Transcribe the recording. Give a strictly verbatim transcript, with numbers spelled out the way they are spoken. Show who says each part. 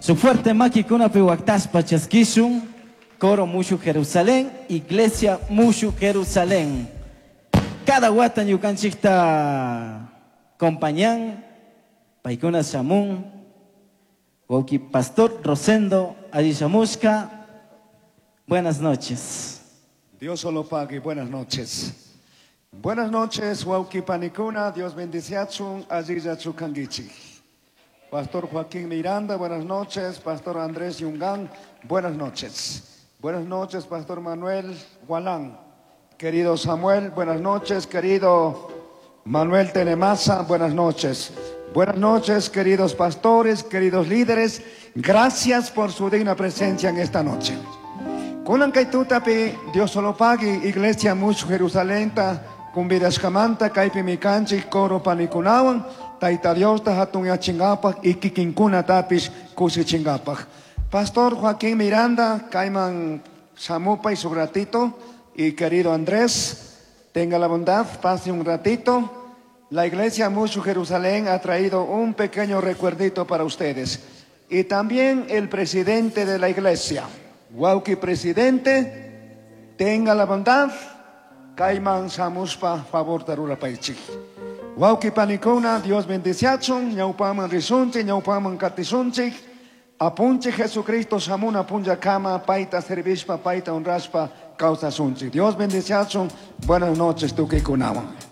Speaker 1: Su fuerte makikunapi waktaspa chaskishun, Coro Mushuj Jerusalén, Iglesia Mushuj Jerusalén. Cada wata ñukanchikta acompañan, paykuna shamun, wawki Pastor Rosendo Alishamushka. Buenas noches.
Speaker 2: Dios solo pague. Buenas noches. Buenas noches, wawki panikuna. Dios bendiciachun, allillachu kanguichik. Pastor Joaquín Miranda, buenas noches. Pastor Andrés Yungán, buenas noches. Buenas noches, Pastor Manuel Gualán. Querido Samuel, buenas noches. Querido Manuel Tenemaza, buenas noches. Buenas noches, queridos pastores, queridos líderes. Gracias por su digna presencia en esta noche. Kunan kay tutapi, Dios solo pague, Iglesia Mushuj Jerusalenta, kumbidashkamanta, kaypimi kanchik, coro panikunawan, Tayta Diosta hatunyachingapaj y kikinkunatapish kushichingapaj. Pastor Joaquín Miranda, kayman shamupay su ratito, y querido Andrés, tenga la bondad, pase un ratito. La Iglesia Mushuj Jerusalén ha traído un pequeño recuerdito para ustedes. Y también el presidente de la iglesia, wawki presidente, tenga la bondad, kayman shamushpa favorta rurapaichik. Wawki panikuna, Dios bendiciachun, ñawpaman rishunchik, ñawpaman katishunchik, apunchik Jesucristo shamuna punllakama, payta servishpa, payta honrashpa, kawsashunchik. Dios bendiciachun, buenas noches tukuykunawan.